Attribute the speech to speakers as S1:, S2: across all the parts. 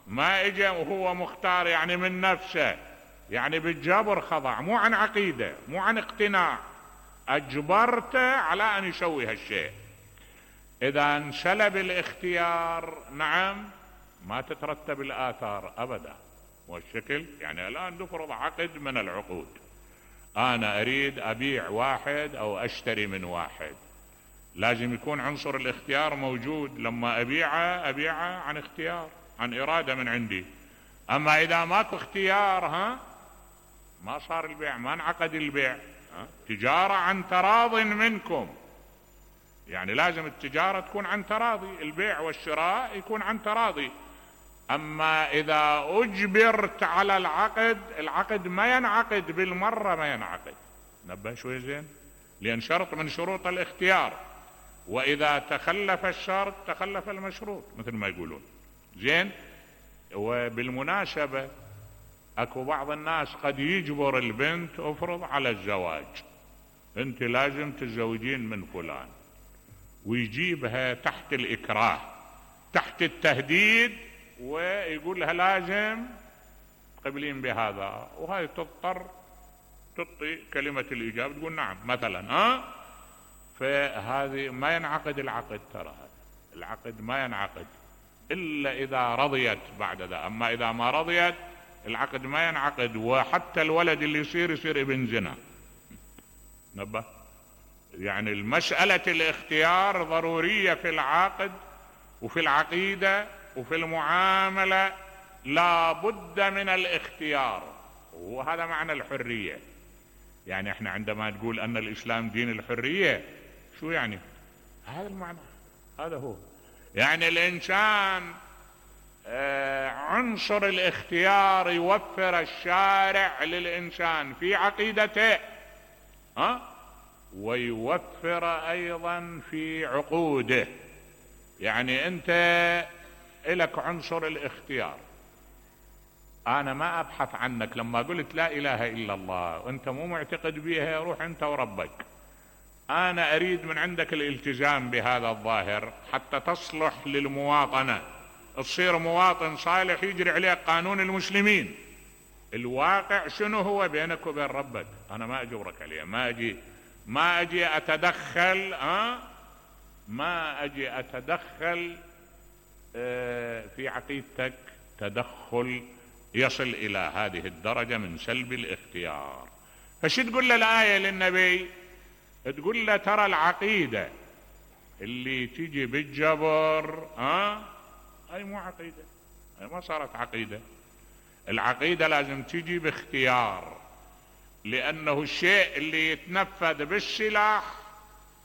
S1: ما اجى وهو مختار يعني من نفسه، يعني بالجبر خضع، مو عن عقيدة، مو عن اقتناع، اجبرته على ان يسوي هالشيء. اذا انسلب الاختيار نعم ما تترتب الاثار ابدا. والشكل يعني الان نفرض عقد من العقود، انا اريد ابيع واحد او اشتري من واحد، لازم يكون عنصر الاختيار موجود. لما ابيعه عن اختيار، عن ارادة من عندي. اما اذا ماكو اختيار ما صار البيع، ما انعقد البيع. تجارة عن تراض منكم، يعني لازم التجارة تكون عن تراضي، البيع والشراء يكون عن تراضي. اما اذا اجبرت على العقد ما ينعقد بالمرة، ما ينعقد. نبه شوي زين، لان شرط من شروط الاختيار، واذا تخلف الشرط تخلف المشروط مثل ما يقولون. زين. وبالمناسبة اكو بعض الناس قد يجبر البنت افرض على الزواج، انت لازم تتزوجين من فلان، ويجيبها تحت الاكراه، تحت التهديد، ويقول لها لازم تقبلين بهذا، وهاي تضطر تعطي كلمة الاجابة، تقول نعم مثلا. فهذه ما ينعقد العقد، ترى العقد ما ينعقد الا اذا رضيت بعد ذا. اما اذا ما رضيت العقد ما ينعقد، وحتى الولد اللي يصير ابن زنا. نبه، يعني المسألة الاختيار ضرورية في العقد وفي العقيدة وفي المعاملة، لا بد من الاختيار. وهذا معنى الحرية. يعني احنا عندما نقول ان الاسلام دين الحرية، شو يعني؟ هذا المعنى، هذا هو. يعني الانسان عنصر الاختيار يوفر الشارع للانسان في عقيدته، ويوفر ايضا في عقوده. يعني انت الك عنصر الاختيار، انا ما ابحث عنك. لما قلت لا اله الا الله وانت مو معتقد بيها، روح انت وربك. انا اريد من عندك الالتزام بهذا الظاهر حتى تصلح للمواطنة، تصير مواطن صالح يجري عليه قانون المسلمين. الواقع شنو هو بينك وبين ربك، انا ما اجبرك عليه، ما اجي اتدخل ما اجي اتدخل في عقيدتك تدخل يصل الى هذه الدرجة من سلب الاختيار. فش تقول له الآية للنبي؟ تقول له ترى العقيدة اللي تيجي بالجبر هاي مو عقيدة، هاي ما صارت عقيدة. العقيدة لازم تيجي باختيار، لانه الشيء اللي يتنفذ بالسلاح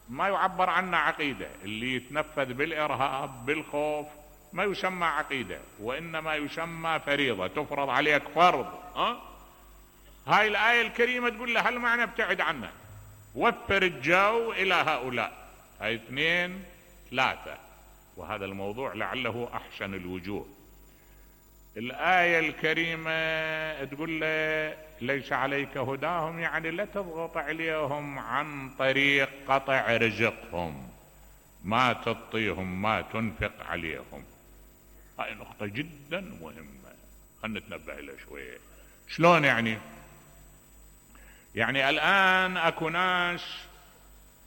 S1: ما يعبر عنه عقيدة، اللي يتنفذ بالارهاب بالخوف ما يسمى عقيدة، وانما يسمى فريضة تفرض عليك فرض. هاي الآية الكريمة تقول له هالمعنى ابتعد عنه، وفر الجو الى هؤلاء. هاي 2 3، وهذا الموضوع لعله احسن الوجوه. الآية الكريمة تقول له ليس عليك هداهم، يعني لا تضغط عليهم عن طريق قطع رزقهم، ما تعطيهم ما تنفق عليهم. هاي نقطة جدا مهمة، خلنا نتنبه لها شوية. شلون يعني؟ يعني الآن اكو ناس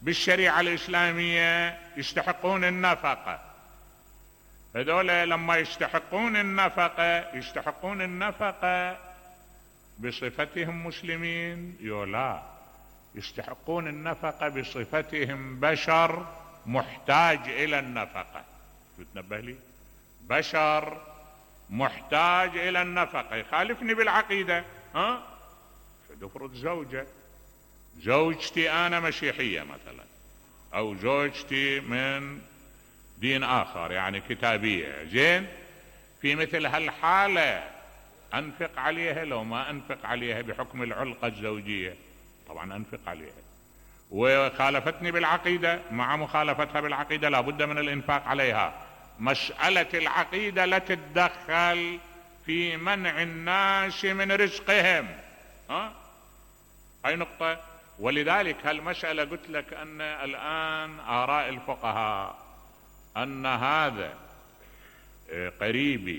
S1: بالشريعة الإسلامية يستحقون النفقة. هذول لما يستحقون النفقة بصفتهم مسلمين؟ لا، يستحقون النفقة بصفتهم بشر محتاج إلى النفقة. تنبه لي، بشر محتاج إلى النفقة. يخالفني بالعقيدة. فنفرض زوجتي أنا مسيحية مثلا، أو زوجتي من دين آخر يعني كتابية. زين، في مثل هالحالة أنفق عليها لو ما أنفق عليها بحكم العلاقة الزوجية؟ طبعا أنفق عليها. وخالفتني بالعقيدة، مع مخالفتها بالعقيدة لابد من الإنفاق عليها. مسألة العقيدة لا تتدخل في منع الناس من رزقهم. هاي نقطة. ولذلك هالمسألة قلت لك أن الآن آراء الفقهاء أن هذا قريبي